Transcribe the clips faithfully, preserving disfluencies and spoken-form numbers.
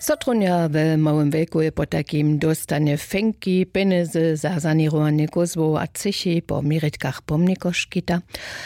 Sotrunja we małym wejkuje potajkim dóstanje fenki pjenjezy za saněrowanje kózłow a třěchi po měritkach pomnikoškita.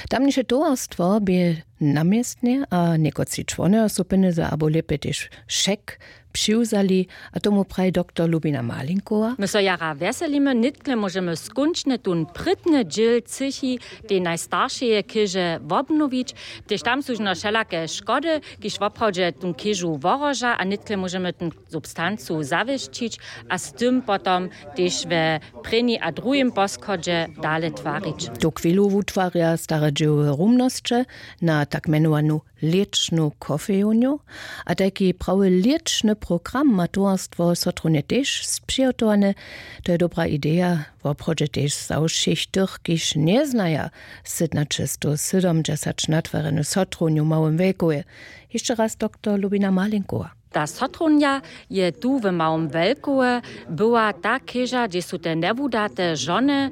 Tamniše towarstwo bě na městnje a někotři čłonojo su pjenjezy abo lěpje tež šek přiwzali. A tomu praji doktor lubina malinkowa. My so jara wjeselimy, nětkle móžemy skónčnje tón prědny dźěl třěchi tej najstaršeje chěže wobnowić. Tež tam su žno wšelake škody, kiž woprawdźe tón chěžu wohroža, a nětkle móžemy tón substancu zawěsćić a z tym potom tež we prěni a druhim poschodźe dale twarić. Tu chwilu wutwarja stare dźěłowe rumnosće na tak mjenowanu lěčnu kofejownju. A tajki prawy lěčny program ma towarstwo sotrunje tež spřihotowany. To je dobra ideja. Woprawdźe tež za wšěch tych, kiž njeznaja sydnaćestowsydomdźesać natwarjenu sotrunju w małym wejkuje. Hišće raz doktor lubina malinkowa. Ta sotrunja je tu w małym wejkowe, była ta chěža, hdźež su te njewudate žony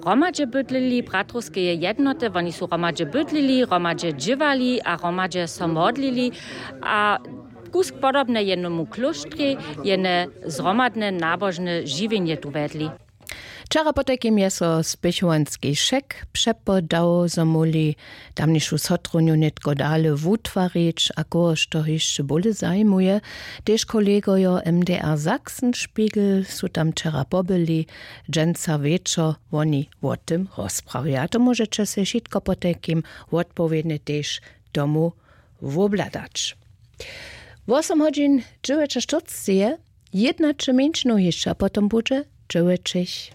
hromadźe bydlili, bratrowskeje jednoty, woni su hromadźe bydlili, hromadźe dźěłali a hromadźe so modlili. A kusk podobne jenomu klóštrjej jene zhromadne nabožne žiwjenje tu wjedli. Wčera potajkim je so spěchowanski šek přepodał, zo móhli tamnišu sotrunju nětko dale wutwarić. A kohož to hišće bóle zajimuje, tež kolegojo mdr sachsenspiegel su tam wčera pobyli. Dźensa wječor woni wo tym rozprawja, to móžeće sej wšitko potajkim wotpowědnje tež tomu wobhladać. Wosom hodźin dźewjećaštyrceće je jědnaće mjeńšinow hišće a potom budźe dźewjećich.